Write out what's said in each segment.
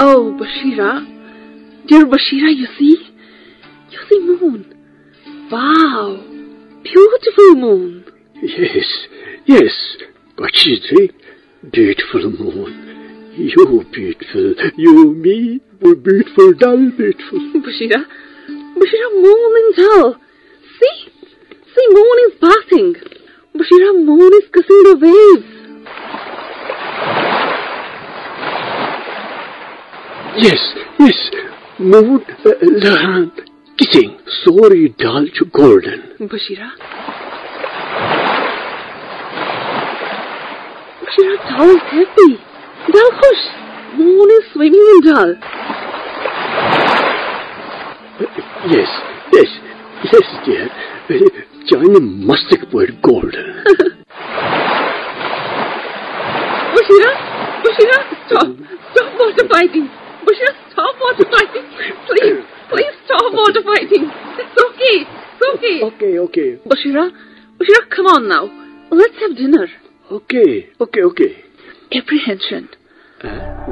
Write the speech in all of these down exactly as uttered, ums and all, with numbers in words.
Oh, Bashira. Dear Bashira, you see? You see moon. Wow. Beautiful moon. Yes, yes. What she say? Beautiful moon. You beautiful. You me. We beautiful, Dal beautiful. Bashira. Bashira, moon in Dal. See? See, moon is passing. Bashira, moon is kissing the waves. Yes, yes. Moon, uh, لہران, kissing. سورُے Dal چھُ golden. Bashira. Bashira, Dal is happy. Dal خۄش. Moon is swimming in Dal. Yes, yes, yes, dear. چانہِ مستٕکۍ پٲٹھۍ golden. Bashira, Bashira, stop. Stop water fighting. Bashira, stop water fighting. Please, please stop water fighting. It's okay. It's okay. Okay, okay. Bashira, Bashira, come on now. Let's have dinner. Okay, okay, okay. Apprehension.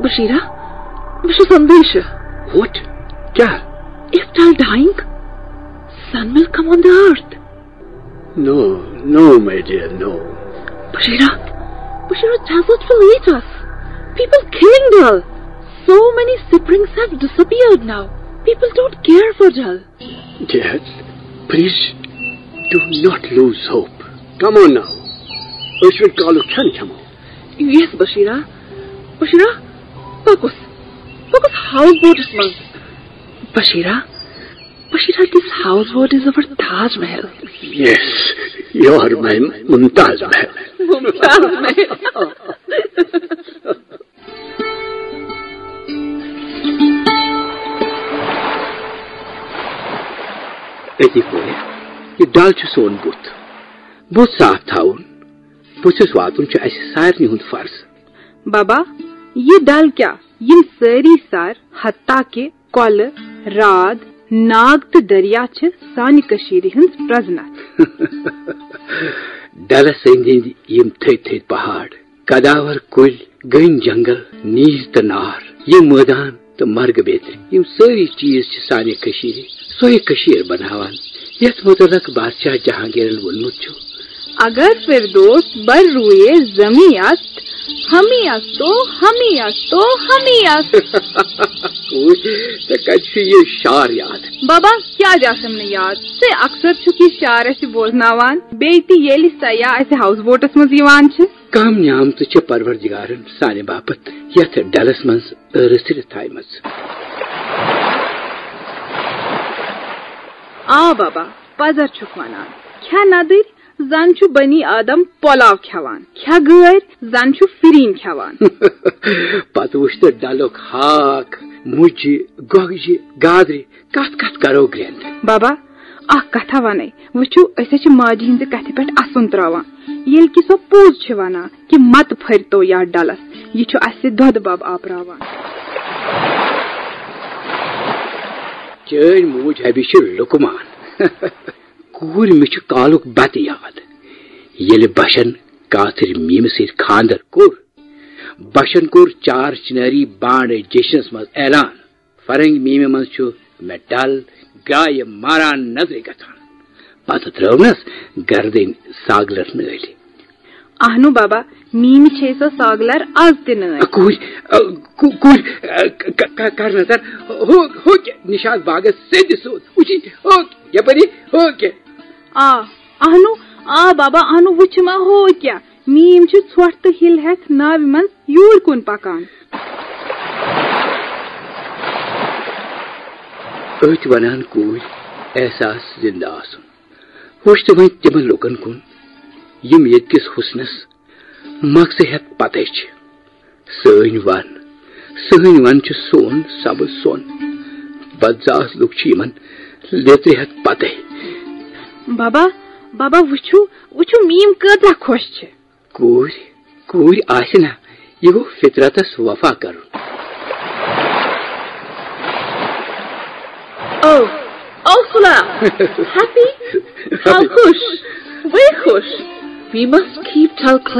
Bashira, بہٕ چھُس اندیشہِ. What? کیٛاہ؟ If Dal dying, sun will come on the earth. No, no, my dear, no. Bashira, Bashira, desert will eat us. People killing Dal. So many springs have disappeared now. People don't care for Dal. Dear, please do not lose hope. Come on now. أسۍ وۄنۍ کالُک کھٮ۪ن کھٮ۪مو. Yes, Bashira. Bashira, پوٚکُس. پوٚکُس house boatس منٛز. Bashira, Bashira, this house boat is our Taj Mahal. Yes, you are my Mumtaz Mahal. Mumtaz Mahal. أتی کورِ، یہِ ڈل چھُ سون بُتھ۔ بُتھ صاف تھاوُن، بُتھِس واتُن چھُ اَسہِ سارنٕے ہُنٛد فرض۔ بابا، یہِ ڈل کیٛاہ؟ یِم سٲری سر، حتیٰ کہِ کۄلہٕ، راتھ، ناگ تہٕ دریا چھِ سانہِ کٔشیٖرِ ہٕنٛز پرٛزنتھ۔ ڈلس أنٛدۍ أنٛدۍ یِم تھٔدۍ تھٔدۍ پہاڑ، قداور کُلۍ، گٔنۍ جنگل، نیٖج تہٕ نار، یِم مٲدان تہٕ مرگہٕ بیترِ، یِم سٲری چیٖز چھِ سانہِ کٔشیٖرِ، سۄے کٔشیٖر بناوان، یَتھ مُتعلق بادشاہ جہانگیرن ووٚنمُت چھُ۔ اگر فردوس بر روئے زمین است، ہمی است و ہمی است و ہمی است۔ کوٗر، ژےٚ کَتہِ چھُے یہِ شعر یاد؟ بابا، کیٛازِ آسٮ۪م نہٕ یاد؟ ژٕ اکثر چھُکھ یہِ شعر اَسہِ بوزناوان، بیٚیہِ تہِ ییٚلہِ سیاح اَسہِ ہاوُس بوٹس منٛز یِوان چھِ۔ کم نعمتہٕ چھِ پروردگارن سانہِ باپتھ یتھ ڈلس منٛز رٔژھرِتھ تھایمژٕ۔ آ بابا، پزر چھُکھ ونان۔ کھےٚ ندٕرۍ، زن چھُ بنی آدم پۄلاو کھٮ۪وان، کھےٚ گٲرۍ، زن چھُ فِرِنۍ کھٮ۪وان۔ پتہٕ وُچھ تہٕ ڈلُک ہاکھ، مُجہِ، گۄگجہِ، گازرِ، کتھ کتھ کرو گرٛٮ۪نٛد؟ بابا، اکھ کتھا ونَے۔ وٕچھِو، أسۍ حظ چھِ ماجہِ ہٕنٛزِ کتھِ پٮ۪ٹھ اسُن تراوان۔ ییٚلہِ کہِ سۄ پوٚز چھِ ونان کہِ متہٕ پھٔرۍتو یتھ ڈلس، یہِ چھُ اسہِ دۄدٕ بب آپراوان۔ چٲنۍ موج حبی چھِ لُکمان۔ کوٗر، مےٚ چھُ کالُک بتہٕ یاد۔ ییٚلہِ بشن کاتھٕرۍ میمہِ سۭتۍ خانٛدر کوٚر، بشن کوٚر چار چناری بانڈ جشنس منٛز اعلان۔ فرنگ میمہِ منٛز چھُ مےٚ ڈل گرایہِ ماران نظرِ گژھان۔ پتہٕ ترٲونس گردٕنۍ ساگلر نٲلۍ۔ اہنو بابا، میمہِ چھے سۄ ساگلر از تہِ نٲلۍ۔ کوٗرۍ، ا، کو-، کوٗرۍ، ا، ک-، ک-، کر نظر۔ ہو، ہو کہِ نشاط باغس سیٚدِ سیوٚد۔ وٕچھی، ہو کہِ، یپٲری، ہو کہِ۔ آ، اہنو، آ بابا، اہنو وٕچھ ما ہو کیٛاہ۔ میٖم چھِ ژھۄٹھ تہٕ ہِل ہٮ۪تھ ناوِ منٛز یوٗرۍ کُن پکان۔ أتھۍ ونان کوٗرۍ احساس زندٕ آسُن۔ وٕچھ تہٕ وۄنۍ تِمن لوٗکن کُن، یِم ییٚتہِ کِس حُسنس مغزٕ ہٮ۪تھ پتے چھِ۔ سٲنۍ ون، سٲنۍ ون چھِ سون سبز سۄن۔ بدزاس لُکھ چھِ یِمن لیٚترِ ہٮ۪تھ پتے۔ بابا، بابا، وٕچھِو، وٕچھِو، میٖم کۭژاہ خۄش چھِ۔ کوٗرۍ، کوٗرۍ آسہِ نا، یہِ گوٚو فطرتس وفا کرُن۔ او، او سُلا، happy؟ تھاو خۄش، وۄنۍ خۄش۔ We must keep Dal clean.